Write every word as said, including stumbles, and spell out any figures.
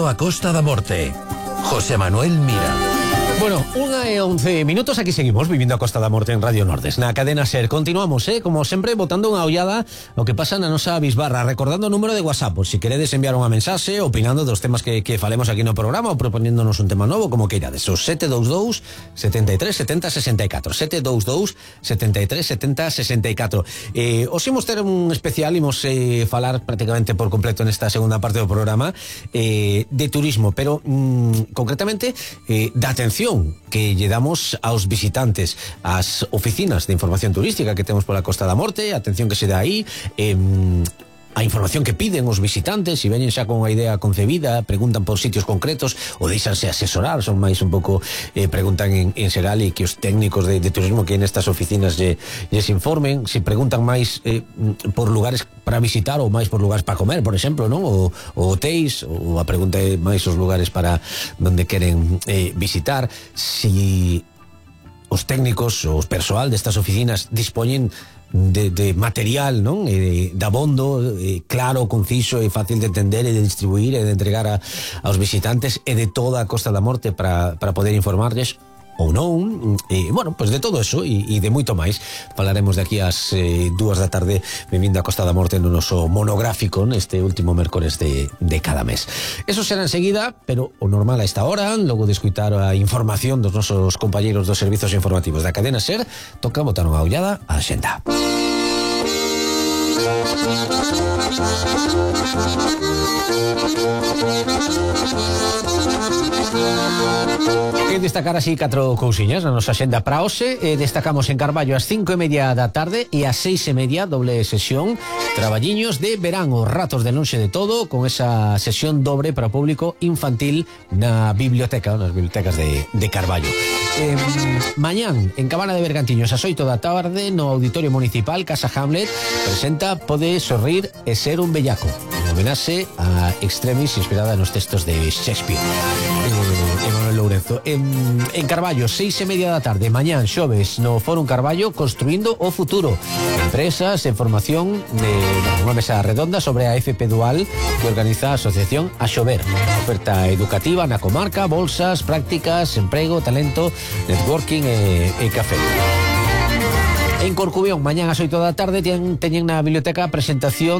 Vivindo a Costa da Morte. José Manuel Mira. Bueno, una e once minutos, aquí seguimos vivindo a Costa da Morte en Radio Nordes, na cadena SER. Continuamos, eh, como sempre, botando unha ollada o que pasa na nosa bisbarra, recordando o número de WhatsApp, por si queredes enviar unha mensaxe, opinando dos temas que, que falemos aquí no programa ou proponéndonos un tema novo, como queirades. O sete dous dous, sete tres, sete zero, seis catro, sete dous dous, sete tres, sete zero, seis catro. Eh, os imos ter un especial, imos eh, falar prácticamente por completo nesta segunda parte do programa eh, de turismo, pero mm, concretamente eh, da atención que lle damos aos visitantes, ás oficinas de información turística que temos pola Costa da Morte, a atención que se dá aí, eh, a información que piden os visitantes, se veñen xa con unha idea concebida, preguntan por sitios concretos ou deixanse asesorar, son máis un pouco eh, preguntan en, en xeral, e que os técnicos de, de turismo que en estas oficinas lle, lles informen, se preguntan máis eh, por lugares para visitar ou máis por lugares para comer, por exemplo, non? Ou, ou hotéis, ou a pregunta é máis os lugares para donde queren eh, visitar, si os técnicos, os persoal destas oficinas dispoñen De, de material, non? E de abondo eh, claro, conciso e fácil de entender e de distribuir e de entregar a, aos visitantes e de toda a Costa da Morte para, para poder informarles ou non, e, bueno, pois pues de todo eso e, e de moito máis falaremos de aquí ás eh, dúas da tarde vivindo a Costa da Morte no noso monográfico neste último mércores de, de cada mes. Eso será enseguida, pero o normal a esta hora, logo de escutar a información dos nosos compañeiros dos servizos informativos da cadena SER, toca botar unha ollada á xenda. E destacar así catro cousiñas na nosa xenda para hoxe. eh, Destacamos en Carballo ás cinco e media da tarde e ás seis e media doble sesión, traballiños de verán, os ratos de lonxe de todo, con esa sesión dobre para o público infantil na biblioteca, nas bibliotecas de, de Carballo. eh, Mañán en Cabana de Bergantiños ás oito da tarde no Auditorio Municipal Casa Hamlet presenta Pode sorrir e ser un bellaco, en homenaxe a Extremis, inspirada nos textos de Shakespeare. eh, Emanuel Lourenzo. En, en Carballo, seis e media da tarde, mañán xoves, no Fórum Carballo, Construindo o Futuro. Empresas en formación de unha mesa redonda sobre a F P Dual que organiza a Asociación A Xover. Oferta educativa na comarca, bolsas, prácticas, emprego, talento, networking e, e café. En Corcubión, mañán ás oito da tarde, teñen na biblioteca a presentación